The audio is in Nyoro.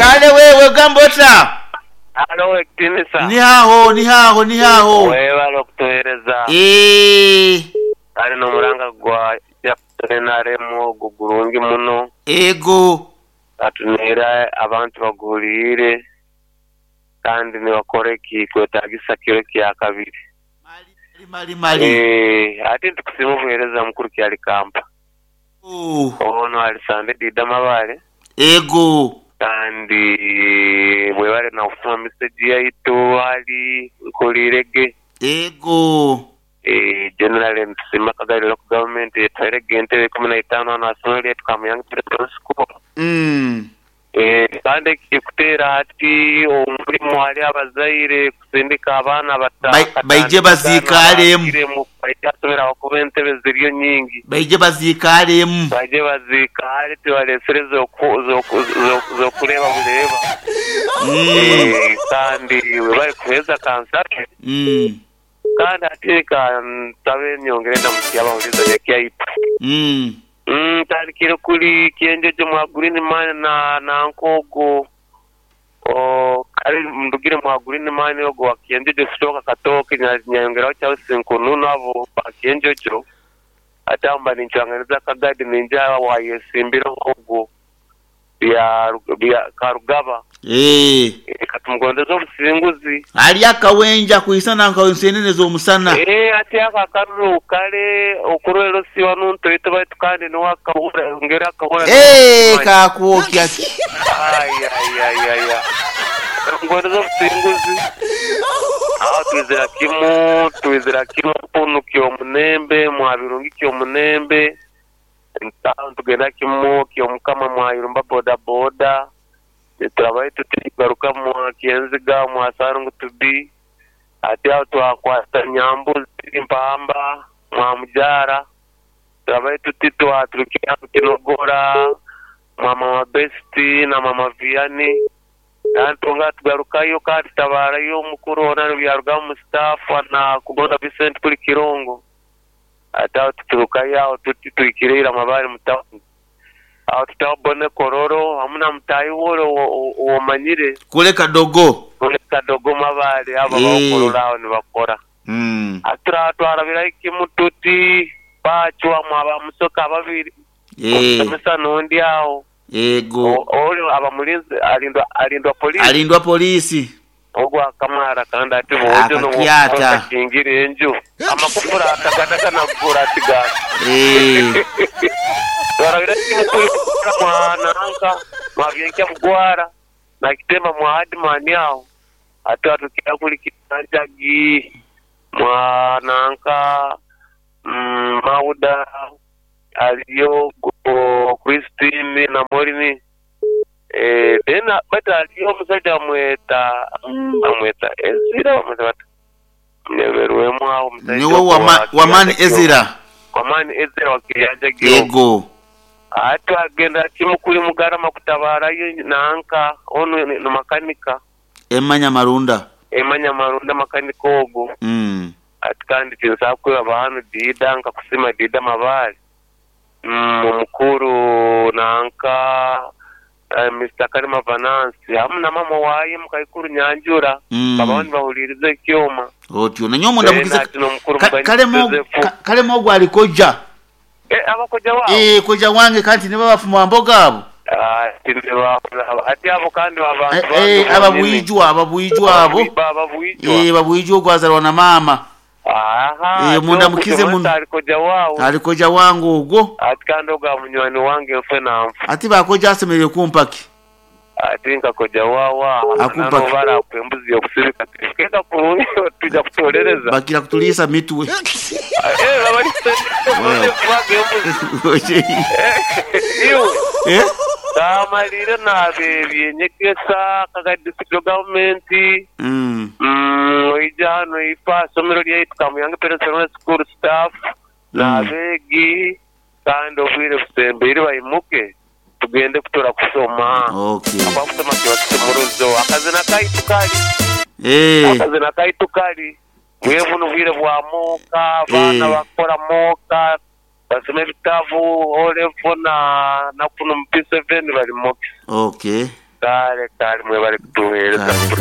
Kale wewe ogamba ota? Halo Owekitinisa. Ni agho, ni agho, ni agho. Webale okutuwereza. Eeh. Kale n'omulanga gwa Chairperson nrm ogwo gulungi muno. Ego. Gatuneire abantu baguhuliire kandi ni bakora ekikwetagisa kiro ekyakabiri. Mali, mali, mali. Eeh, ate nitukusiima obuhereza mukuru Kyalikampa. Ono ali Sande Dida Mabale. Ego. Kandi mwebale na kusoma message yaitu ali nkuliire ge. Ego. Generally nitusiima Kagadi Local Government etuhaire ge entebe ikumi na itaanu hanu aha isomero lyaitu Kamuyangi Primary School. Kandi ekirikuteera hati omurimo hariho abazaire kusindika abaana Baije baziikaalemu. Baije aha isomero ahabw'okuba entebe ziriyo nyingi. Baije baziikaalemu. Baije baziikaale tibareetsire z'okureeba bureeba. Kandi webare kuheereza kansabe. Kandi hati reka nsabe nyongere ndamukye abahuriza Nyakyaitu. Ntandikire kuri Kyenjojo mwa Green Man na nanka ogwo kare ndugire mwa Green Man ogwo wa Kyenjojo Sitooka Katooke nyayongeraho Charles Nkununu abo ba Kyenjojo ate aho mba nincwanganiza Kagadi ninja owayesimbire ogwo bya Karugaba. Eeh. Ka tumugondeze obusinguzi. Ali akawenja kwisana nka ensenene z'omusana. Eeh ati ako akaruru kale okurwera osiiba nuntoito baitu kandi niwe akahura ngeri akahura Eeh kakwokya ki. Ayayayaya tumugondeze obusinguzi. Aho twizira kimu twizira kimu punu kyomunembe mwabirungi kyomunembe. Ntaaho nitugenda kimu ky'Omukama mwayurumba bodaboda, niturabayo tuti nitugaruka mwa Kyenziga mwa Sarungu Tubi, ati aho twakwata Nyambuzi, Mpamba, mwa Mujaara, turabayo tuti twaturukira Kinogora mwa Mama Besiti na Mama Vianney, kandi twongera tugarukayo kandi tutabaarayo omukuru hoona byarugamu Mustafa na Kugonza Vincent kuri Kirongo. Ate agho tuturukayo agho tuti twikire eira Mabale mu tawuni. Agho tutaho Bone Kololo wamu na mutaahi wo ole w'omanyire. Kule Kadogo. Kule Kadogo Mabale abo abaho Kololo agho ni bakora. Ate turaaba twarabirayo kimu tuti baacwamu aba Musoke ababiri, omusomesa n'ondi agho. Yego. Ole aba mulinzi alindwa alindwa poliisi. Alindwa poliisi. Ogwo akamara kandi ati bwojo Akakyata. nokingira enju amakufura atagadagana gura ati gana. Eeh. Twarabira kimu kuri mwa nanka mwa Byenkya Bugwara na Kitemba mwa Adman awo ate watukira kuri Kitanjagi mwa nanka Mauda Aliyo Christine na Morini then but aliyo omusaija bamweta bamweta Ezira bamweta bata nyeberwemu agho omusaija Niwe ogwo Wamani Ezira. Wamani Ezira wa Kiryanjagi ogwo. Yego. Ati agenda kimu kuli Mugarama kutabarayo nanka onu ni makanika. Emma Nyamarunda. Emma Nyamarunda makanika ogwo. Ati kandi tinsobola kwebaba ghano Dida nkakusiima Dida Mabaale. Omukulu nanka Mister Kalema Vanansi hamu na maama waye mukaikuru Nyanjura babaho nibahuliriza ekyoma. Otyo nanyowe mundamukize Then ati n'omukulu Muganyi Joseph. Kalema ogwo ali koja. Eh, aba koja waabo? Eeh, koja wange kanti ni babafuma mboga abo. Ati ni ati abo kandi babantu bange bonyini. Ababwijwa, ababwijwa abo. Babwijwa. Eeh, babwijwa ogwo azarwa na maama. Aha, Eeh, mundamukize muno. Ali koja wawe. Ali koja wange ogwo. Ati kandi ogwo munywani wange nfe na nfa. Ati bakoja asemereire kumpa ki? Ati nka koja wawe aho. Akumpa ki? Nano barakuha embuzi y'okusibika tibikenda kurungi twija kutorereza. Bakira kutuliisa mitwe. Eh, babalisa kubaga embuzi. Iwe. Eh? Kamalire naaba eby'enyegesa Kagadi District Government. Oija hano eife aha isomero lyaitu Kamuyange Parents Primary School staff n'abeegi kandi obwire busembeire baimuke tugende kutura kushoma. Ahabw'okuba kushoma kiba kisumuruzo. Akazina kaitu kari. Akazina kaitu kari. Bwire bunu bwire bwa muuka, abaana bakora muuka, basoma ebitabu, O level na kunu mu P7 bari mukisa. Kale kale mwebale kutuwereza. Kale kale.